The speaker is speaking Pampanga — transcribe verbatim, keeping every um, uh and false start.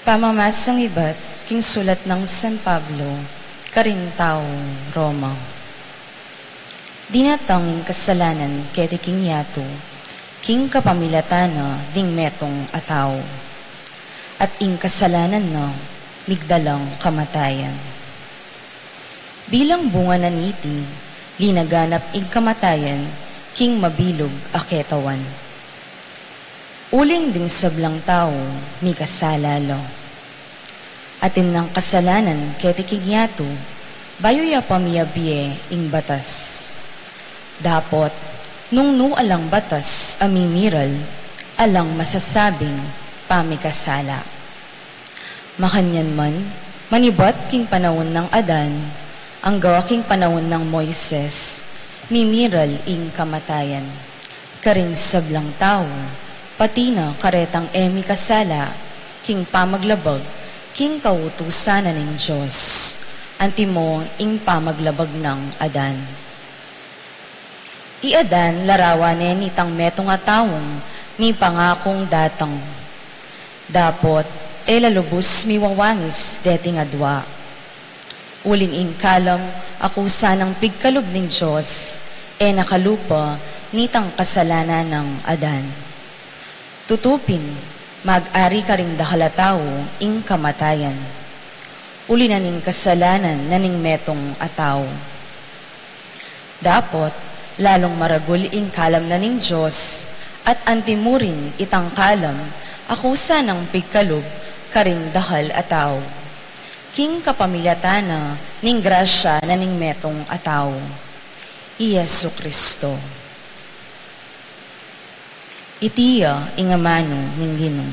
Pamamasang ibat king sulat nang San Pablo karing taga Roma. Dinatang ing kasalanan keti king yatu, king kapamilatan na ning metung a tau. At ing kasalanan na migdalang kamatayan. Bilang bunga na niti, linaganap ing kamatayan king mabilug a ketawan. Uling ding sablang tau mikasala la. Atin nang kasalanan keti king yatu, bayu ya pa miyabie ing batas. Dapot, nung nu alang batas a mimiral, alang masasabing pamikasala. Makanyan man, manibat king panaun nang Adan, angga king panaun nang Moises, mimiral ing kamatayan karing sablang tau, pati na karetang e mikasala, king pamaglabag king kautusan na ning Dios, antimo ing pamaglabag nang Adan. I Adan larawan ne nitang metung a taung mipangakung datang. Dapot, e la lubus miwawangis deting adua. Uling ing kalam a kusa nang pigkalub ning Dios, e na kalupa nitang kasalanan nang Adan. Tutu pin, mag-ari karing dakal a tau ing kamatayan. Uli na ning kasalanan na ning metung a tau. Dapot, lalung maragul ing kalam na ning Dios, at antimurin itang kalam a kusa nang pigkalub karing dakal a tau. King kapamilatan na ning grasya na ning metung a tau, i Jesu Cristo. Iti ya ing amanu ning Ginu.